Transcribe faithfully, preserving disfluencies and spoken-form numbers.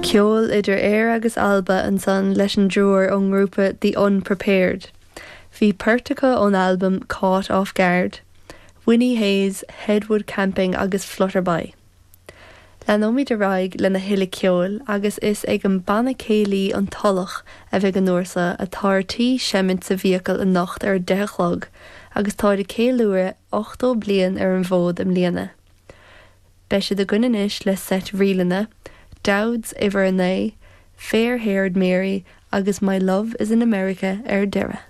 Ceol idir Éire agus Alba ansan leis an dtriúr ón ngrúpa The Unprepared. Bhí port acu ón albam Caught Off Guard, Winnie Hayes, Headwood Camping agus Flutterby. Leanfaimid ar aghaidh lena thuilleadh ceoil agus is ag an banna céilí an Tulach a bheidh an uair seo atá ar tí seimint sa bhfiacail anocht ar deich a chlog agus tá ag ceiliúradh ochtó bliain ar an bhfód i mbliana. Beidh siad againn anois le seit ríleanna, Dowds uimhir a naoi, Fair Haired Mary agus My Love is in America ar deireadh.